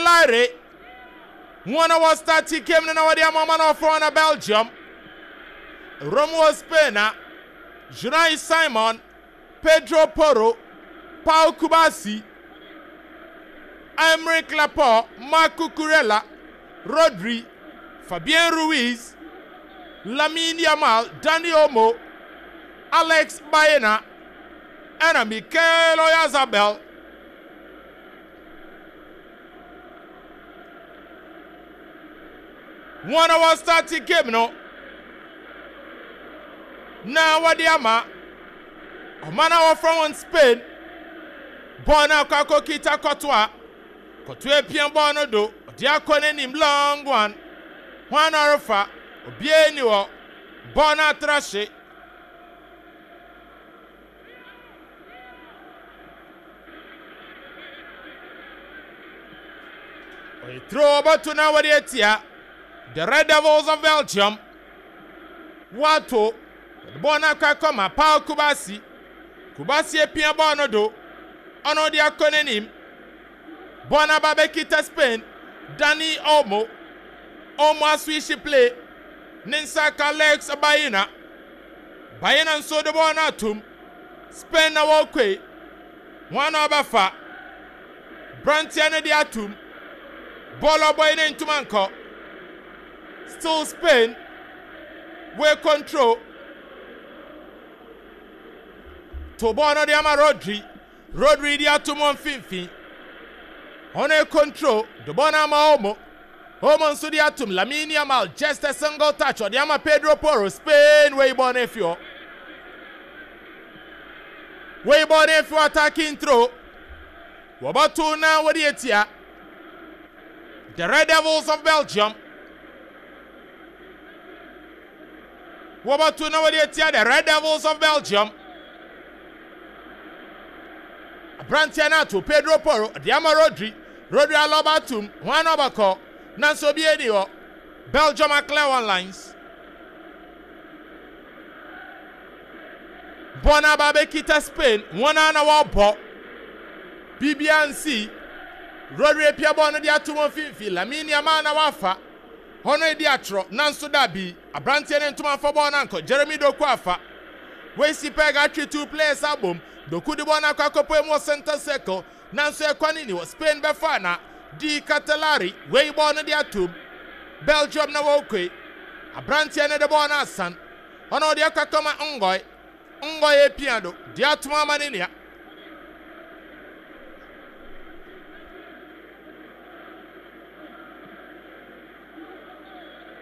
Ketelaere wɔn a wɔ start game no na wɔde ama ɔma no ɔfrɛ wɔn na Belgium. Rome wɔ Spain a Unai Simon, Pedro Porro, Pau Cubarsí, Aymeric Laporte, Marc Cucurella, Rodri, Fabian Ruiz, Lamine Yamal, Dani Olmo, Alex Baena, ɛna Mikel Oyarzabal. Wɔn a wɔstarte game no na wɔde ama ɔman a wɔfrɛ wɔn Spain. Bɔɔl no akɔ akɔkita Courtois. Courtois apia bɔɔl no do, ɔde akɔ n'anim long one. Hwan na ɔrefa? Obiara nni hɔ. Bɔɔl no atra hye. Ɔyɛ turo ɔbɛto na wɔde atia The Red Devils of Belgium. Wɔato wɔde bɔɔl no akɔ akɔma Paul Kubasi. Kubasi apia bɔɔl no do, ɔno de akɔ n'anim. Bɔɔl no aba abɛkita Spain Dani Olmo. Olmo aswihye play ne nsa aka Alex Baena. Baena nso de bɔɔl no atom. Spain na wɔrekɔe. Hwan na ɔbɛfa? Branteɛ no de atom. Bɔɔl ɔbɔe no ntoma nkɔ. Still Spain we control. To bɔɔl no de ama Rodri. Rodri de atom wɔ mfimfini. Ɔno control de bɔɔl no ama Olmo. Olmo nso de atom Lamine Yamal, just a single touch ɔde ama Pedro Porro. Spain wei bɔɔl no afi hɔ. Wei bɔɔl no afi hɔ, attacking throw. Wɔbɛto na wɔde atia The Red Devils of Belgium. Wɔbɛto na wɔde atia The Red Devils of Belgium. Aberanteɛ no ato Pedro Porro de ama Rodri. Rodri alɔba atum, hwan na ɔbɛkɔ? Nanso obiara nni hɔ. Belgium aclear one lines. Bɔɔl no aba abɛkita Spain, wɔn ara na wɔrebɔ. Biribiara nsi. Rodri apia bɔɔl no de ato wɔn mfimfini. Lamine Yamal na wafa. Hɔ no edi atorɔ, nanso dabi. Aberanteɛ no ntoma amfa bɔɔl no ankɔ. Jeremy Doku afa. Wasi peg atwe two players abom. Doku de bɔɔl no akɔ akɔpue mu wɔ center circle. Nanso ɛkwan nni hɔ. Spain bɛfa na Di Ketelaere wei bɔɔl no de atom. Belgium na wɔrekɔe. Aberanteɛ no de bɔɔl no asan. Ɔno ɔde akɔ akɔma Ngoy. Ngoy apia do de atom ama ne nua.